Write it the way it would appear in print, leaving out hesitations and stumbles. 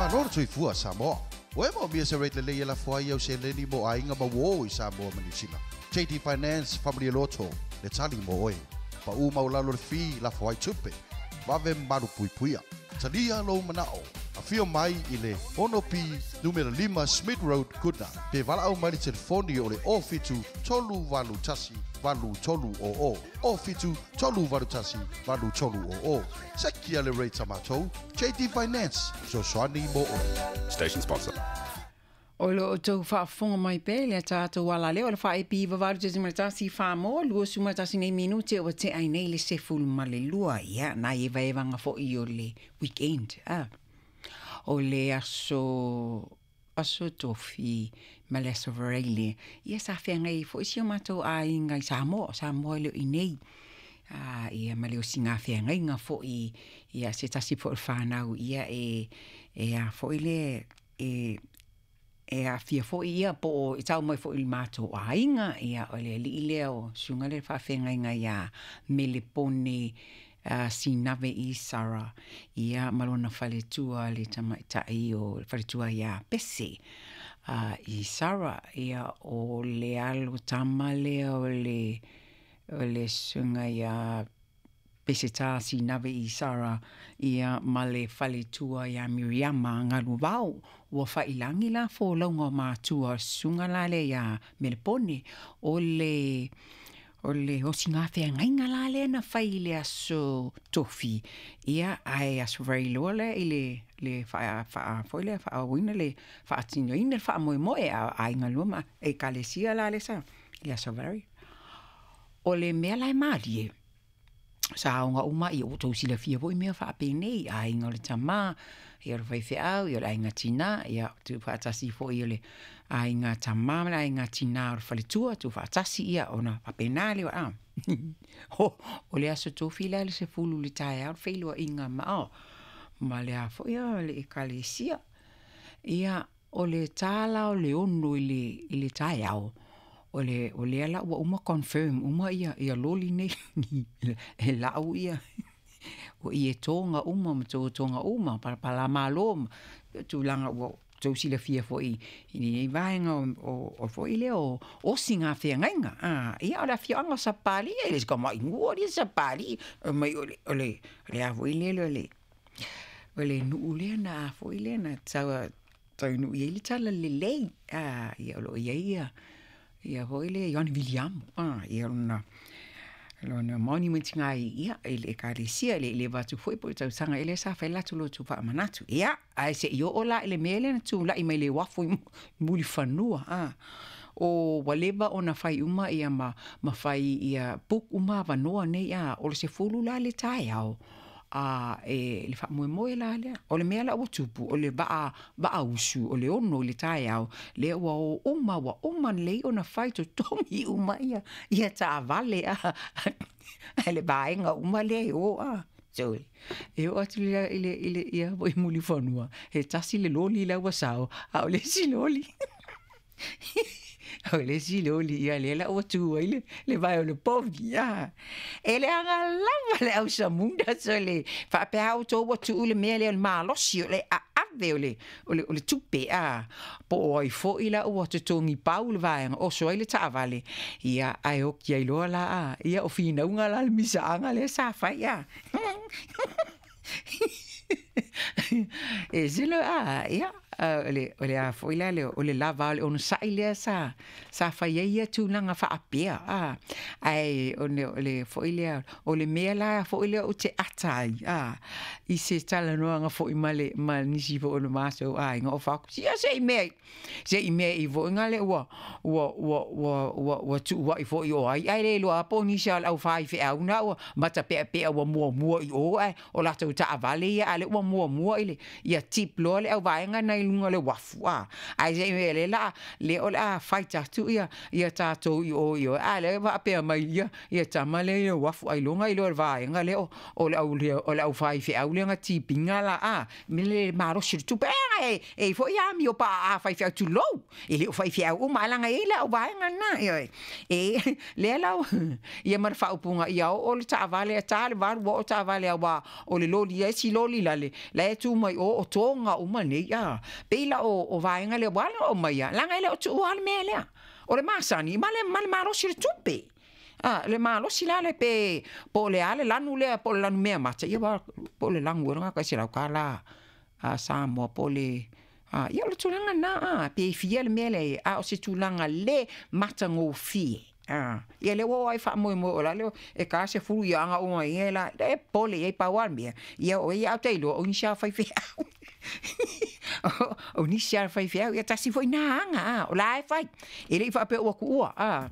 Malo le soifua Samoa. Ua e moomia se rate lelei e lafo ai au seleni mo aiga ma uō i Samoa ma Niu Sila? JD Finance Faamalie Loto le tali mo oe. Pa'u maualalo le fee lafo ai tupe. Vave ma malupuipuia. Talia lou mana'o. Afio mai i le 6B numera 5 Smith Road, Goodna, pe valaau mai i le telefoni o le 07 381 8300, 07 381 8300. Sekia le rate a matou, JD Finance, fesoasoani mo oe. Station sponsor. O lo outou faafofoga mai pea i le tatou alaleo o le 4EB 8.1 Samoa, 21 nei minute ua tea ai nei le 12, ia, nai evaevaga foi o le weekend, a. O le aso, aso Tofi ma le aso Varaile, ia sa feagai ai foi si o matou aiga i Samoa, o Samoa e le o i inei. A, ia ma le osigā feagaiga foi, ia se tasi foi o fanau, ia e, e a foi le, e, e aafia foi ia po o e tau mai foi i le matou aiga, ia o le alii lea o susuga lea i le faafeagaiga ia Melepone Sinave Isara, ia ma lona faletua le tamaitai o le faletua ia Pese Isara, ia o le alo tama lea o le o le susuga ia Peseta Sinave Isara, ia ma le faletua ia Miriama Galuvao, ua faiilagi la folauga o matua o le susuga la lea ia Melepone. O le o le osigā feagaiga la lea na fai i le aso Tofi, ia ae Aso Faraile lea i le le faa faa foi lea faaauauina le faatinoina le faamoemoe a aiga lua ma ekalesia la lea sa i le Aso Faraile. O le mea la e malie, sa aoga uma ia ua outou silafia foi mea faapenei, aiga o le tama, ia o le faifeau, ia o le aiga tina, ia tuufaatasi foi o le aiga tama ma le aiga tina o le faletua, tuufaatasi ia ona faapena lea a. O le aso Tofi la i le 10 i le taeao le feiloaiga ma ma le a foi le ekalesia. Ia o le ta la o le 6 i le taeao, o le o lea la ua uma confirm uma ia ia loli nei e lau ia o ietoga uma ma totoga uma palapalamalo ma tulaga ua outou silafia foi i lenei vaega o foi lea o osigā feagaiga. Ia o le afioaga o Sapapalii, e le o se tamai nuu alii Sapapalii, mai o le o le o le a foi lele o le o le nuu lea na a foi lea na tau taunuu i ai le talalelei. Ia o lo o i ai ia ia foi lea Ioane Viliamu, ia lona lona monument i ia i le ekalesia, le leva atu foi po o le tausaga ea lea sa fai le latou lotu faamanatu. Ia, ae se'i oo la i le mea lea na tula'i mai le uafu i Mulifanua, o ua leva ona fai uma ia ma ma fai ia book uma avanoa nei a o le 10 la le taeao a e le faamoemoe la lea. O le mea la ua tupu, o le vaa vaa usu o le 6 i le taeao, lea ua o uma ua uma lelei ona fai totogi uma ia ia taavale a le vaega uma lea e o a. So, e oo atu i le i le ia foi Mulifanua, he tasi le loli la ua sao, a o le isi loli o le isi loli ia lea la ua tu ai le le vae o le povi a. E leaga lava le ausamunda so le faapea outou ua tuu le mea lea o le malosi o le aave o le o le o le tupe a po o ai foi la ua totogi pau le vaega oso ai le taavale ia ae oki ai loa la a ia o finauga la le misaaga lea sa fai a. E silo a ia o le o le a foi la le o le lava o le onosai lea sa sa fai ai ia tulaga faapea a ae o le o le foi lea o le mea la foi lea ou te ata ai a i se talanoaga foi ma le ma nisi foi o le matou aiga o faaku ia se i mea se i mea i foi le ua ua ua ua ua ua tuua'i foi o ai ae le iloa po o nisi o le au faifeau na ua matapeapea ua muamua i o ae o latou taavale ia a o lea ua muamua i le ia tip loa le auvaega nai luga o le uafu a, ae se i mea lea la lea o le a fight atu ia ia tatou i o i o a lea faapea mai ia ia tama lea i le uafu ailoga iloa le vaega lea o o le au o le au faifeau lea na tipiga la a me le malosi o le tupe e e i foi amio pa'a a faifeau tulou e le o faifeau uma ae laga e i ai le au vaega lena ioe e lea la ia ma le faaupuga ia oo le taavale a ta le 8 ua oo taavale auā o le loli e isi loli lale la e tu mai o o toga uma nei a pei la o o vaega lea ua ala ona aumaia laga e le o tuua le mea lea o le masani ma le ma le malosi o le tupe. A le malosi la le pe po o le a le lanu lea po o le lanu meamata ia aua po o le lanu ea lena tai $100 a Samoa po o le a ia o le tulaga lena a pe fia le mea lea a o se tulaga le matagofie a ia lea ua oo lava i faamoemoe o la le e ta 10 ia aga uma ia la e pole i ai pau lava le mea ia o ia a ou te iloa o nisi lava o faifeau o nisi lava o faifeau ia tasi foi na aga a o la e fai e le i faapea ua tuua a.